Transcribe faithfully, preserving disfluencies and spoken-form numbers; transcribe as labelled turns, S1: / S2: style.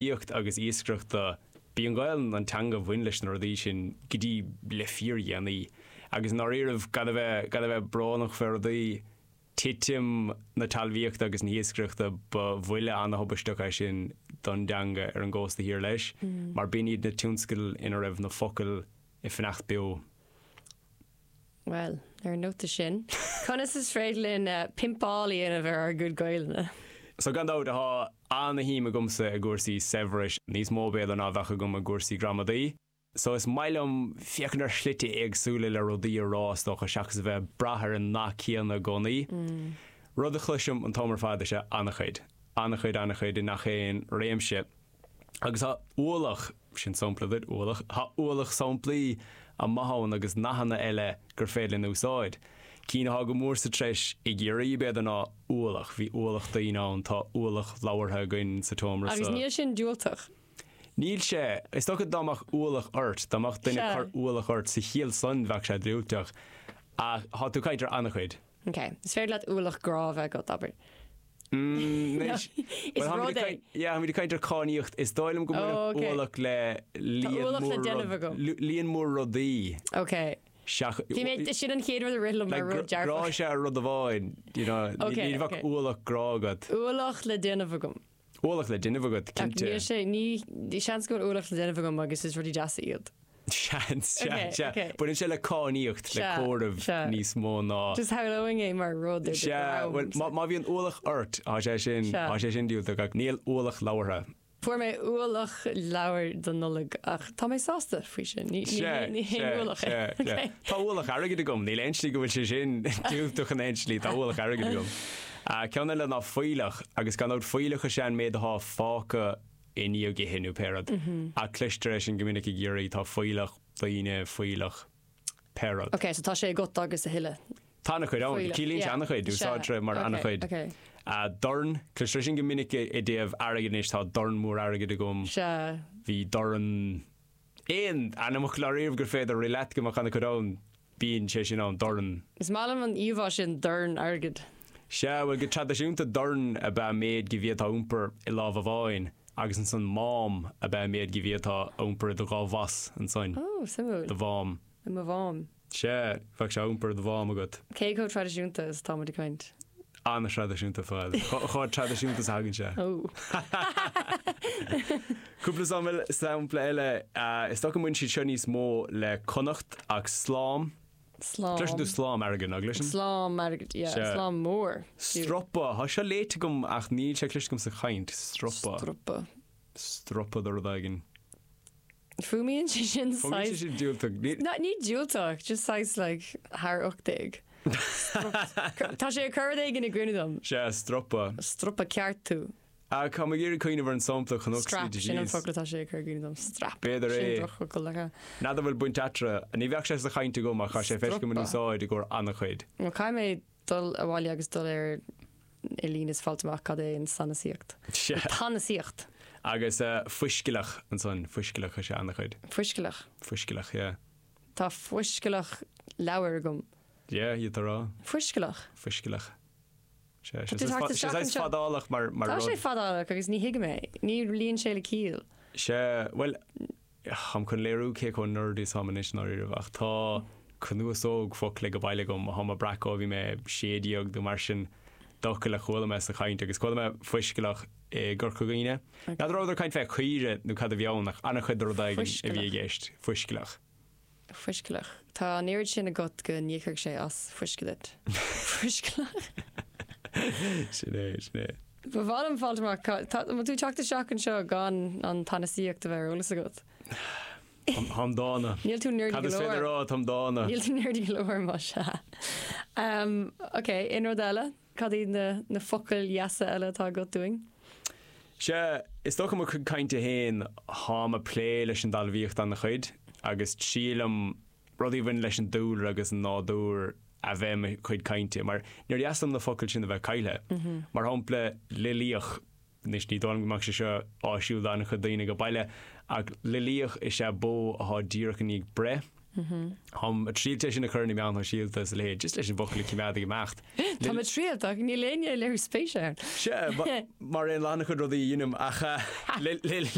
S1: Talmhaíocht agus iascaireachta, b'í an Ghaelainn an teanga a bhain leis na rudaí sin go dtí le fíordhéanaí. Agus i ndáiríribh, gan a bheith, gan a bheith brónach fé rudaí, titim na talmhaíochta agus na hiascaireachta, ba bhuille ana-thubaisteach é sin don dteanga ar an gcósta thiar leis, mar b'in iad na tionscail ina raibh na focail ag fanacht beo.
S2: Bhuel, ar an nóta sin, conas is féidir linn pimpáil a dhéanamh ar ár gcuid Gaelainne?
S1: So gan dabht, tá ana-shuim agamsa i gcúrsaí saibhris, níos mó b'fhéidir ná a bheadh agam i gcúrsaí gramadaí. So is maith liom féachaint ar shlite éagsúla le rudaí a rá, is dócha, seachas a bheith ag brath ar an nath céanna i gcónaí. Rud a chloisim an t-am ar fad is ea an-chuid. An-chuid, an-chuid i ngach aon réimse. Agus tá ualach, sin sampla duit, ualach, tá ualach samplaí maithe ann agus nathanna eile gur féidir linn a úsáid. Cinn atá go mór sa treis i gCiarraí, b'fhéidir, ná ualach, bhí ualach daoine ann, tá ualach leabhartha againn sa tseomra
S2: Agus
S1: so.
S2: níl sin diúltach.
S1: Níl sé. Is dócha dá mbeadh ualach ort, dá mbeadh duine ag
S2: Sea.
S1: cur ualach ort sa chiall san bheadh sé diúltach. Ach tá tú ag caint ar an-chuid.
S2: Ok. Is féidir leat ualach grá a bheith agat, abair.
S1: Anois,
S2: Is rud é.
S1: Yeah, táimid ag caint ar cainníocht. Is dóigh liom go
S2: Oh,
S1: mbaineann
S2: okay.
S1: ualach le
S2: Tá
S1: líon
S2: ualach le
S1: mór
S2: déanamh
S1: rud-
S2: agam.
S1: lu- líon mór rudaí.
S2: Ok.
S1: Seach-
S2: Bhí mé, sin an chéad rud a rith liom mar
S1: Like,
S2: rud
S1: grá
S2: dearfach.
S1: is ea rud amháin, you know, ní
S2: Okay,
S1: ní bheadh
S2: okay.
S1: ualach grá agat.
S2: Ualach le déanamh agam.
S1: Ualach le déanamh agat,
S2: Ach
S1: cinnte.
S2: níl sé, ní, ní seans go bhfuil ualach le déanamh agam agus is rudaí deasa iad.
S1: Seans, sea,
S2: Okay,
S1: sea.
S2: okay.
S1: Baineann sé le cainníocht, le
S2: Sea,
S1: comhaireamh
S2: sea.
S1: níos mó ná.
S2: Just shamhlóinn é mar rud ar do
S1: Sea,
S2: dhroim.
S1: bhuel, má, má bhíonn ualach ort, tá sé sin,
S2: Sea.
S1: tá sé sin diúltach, ach níl ualach labhartha.
S2: Fuair mé ualach leabhar don Nollaig ach tá mé sásta faoi sin. Ní, ní,
S1: Sea,
S2: ní haon
S1: sea,
S2: ualach é.
S1: sea, sea.
S2: Okay.
S1: Tá ualach airgid agam, níl aon slí go bhfuil sé sin diúltach in aon slí, tá ualach airgid agam. Uh, ceann eile ná fuílleach, agus gan dabht fuílleach is ea an méid atá fágtha i ndiaidh ithe nó pé rud. Ach cloistear é sin go minic i gCiarraí, tá fuílleach daoine, fuílleach pé rud.
S2: Ok, so tá sé agat agus a thuilleadh.
S1: Tá an-chuid ann,
S2: Fuílleach,
S1: ciallaíonn sé
S2: yeah.
S1: an-chuid,
S2: Sea,
S1: úsáidtear é mar
S2: ok,
S1: an-chuid.
S2: ok.
S1: Uh, dorn, cloistear sin go minic i i dtaobh airgid anois, tá dorn mór airgid agam.
S2: Sea.
S1: Bhí dorn aon ainmfhocal ariamh gur féidir rith leat go mbeadh an-chuid ann, bíonn sé sin ann, dorn.
S2: Is maith liom an íomhá sin dorn airgid.
S1: Sea, bhuel go traidisiúnta dorn ab ea an méid go bhféadfá a iompar i lámh amháin agus ansan mám ab ea an méid go bhféadfá a iompar i do dhá bhas ansan.
S2: Ó, suimiúil.
S1: Do mhám.
S2: I mo mhám.
S1: Sea, bheadh sé á iompar i do mhám agat.
S2: Cé chomh traidisiúnta is atá muid ag caint?
S1: An-traidisiúnta fad. Chomh traidisiúnta is a thagann sé.
S2: Ó.
S1: Cúpla sampla eile, is dócha go mbaineann siad seo níos mó le Connacht ach slám.
S2: Slám.
S1: Cloiseann tú slám airgid, nach gcloiseann?
S2: Slám airgid, yeah,
S1: Sea.
S2: slám mór.
S1: Stropa, tá seo léite agam ach níl sé cloiste agam sa chaint. Stropa.
S2: Stropa.
S1: Stropa de rud éigin.
S2: Fuaimíonn sé sin
S1: Fuaimíonn sé
S2: saghas
S1: sin diúltach. Ní
S2: No, ní diúltach, just saghas like thar ocht déag. Tá sé ag cur rud éigin i gcuimhne dom.
S1: Sea, stropa.
S2: Stropa ceart tú.
S1: Ach tá mé ag iarraidh cuimhneamh ar an sampla chun
S2: Strap,
S1: ocsaíde
S2: sin an
S1: síos.
S2: focal atá sé ag cur i gcuimhne dom. Strap.
S1: B'fhéidir
S2: Sin
S1: é.
S2: drochfhocal le
S1: N'fheadar bhfuil baint eatarthu. Ní bheadh sé sa chaint agam ach tá sé feicthe agam in
S2: Stropa.
S1: úsáid i gcomhair an-chuid.
S2: Nó caithfidh mé dul abhaile agus dul ar ar líne is fáilt amach cad é an sanasaíocht.
S1: Sea.
S2: Tanasaíocht.
S1: Agus fuiscealach ansan, fuiscealach is ea an-chuid.
S2: Fuiscealach.
S1: Fuiscealach, yeah.
S2: Tá fuiscealach leabhar agam.
S1: Yeah, iad a rá.
S2: Fuiscealach.
S1: Fuiscealach. Sea,
S2: Tá tú tagtha
S1: sé
S2: isteach anseo.
S1: fadálach mar mar
S2: Tá
S1: rud.
S2: sé fadálach agus ní thuigim é. Ní luíonn sé le ciall.
S1: Sea, bhuel, táim chun léiriú cé chomh nerdy is táim anois ndáiríre ach tá cnuasóg focla ag baile agam atá mé ag breacadh ó bhí mé sé déag nó mar sin d'fhocail a chuala mé sa chaint agus chuala mé fuiscealach i gCorca Dhuibhne. N'fheadar rabhadar ag caint fé caoire nó cad a bhí ann ach an-chuid de rud éigin a bhí i gceist. Fuiscealach.
S2: Fuiscealach. Tá an oiread sin agat go n-íocfaidh sé as fuisce duit. Fuiscealach.
S1: Sin é, sin é.
S2: Ba mhaith liom fáilt amach tá tú teacht isteach anseo gan an tanasaíocht a bheith ar eolas agat.
S1: Táim dána.
S2: Níl tú nerdy
S1: Cad
S2: go
S1: is féidir
S2: leor.
S1: rá, táim dána.
S2: Níl tú nerdy go leor má sea. Um, ok, aon rud eile? Cad iad na, na focail dheasa eile atá agat dúinn?
S1: Sea, is dócha mo chuid cainte féin táim ag plé leis an dtalmhaíocht an-chuid agus triailim rudaí a bhain leis an dúlra agus an nádúr a bheith i mo chuid cainte, mar níor dheas liom na focail sin a bheith caillte. Mar shampla, lilíoch, anois ní dóigh liom go mbeadh sé seo áisiúil d'an-chuid daoine ag baile, ach lilíoch is ea bó atá díreach i ndiaidh breith. Táim ag triail é sin a chur na meáin shóisialta is le just leis an bhfocal cimeád imeacht.
S2: Tá mé triail ach níl éinne léiriú spéise.
S1: Se mar aon lena chuid rudaí dhéanaim ach le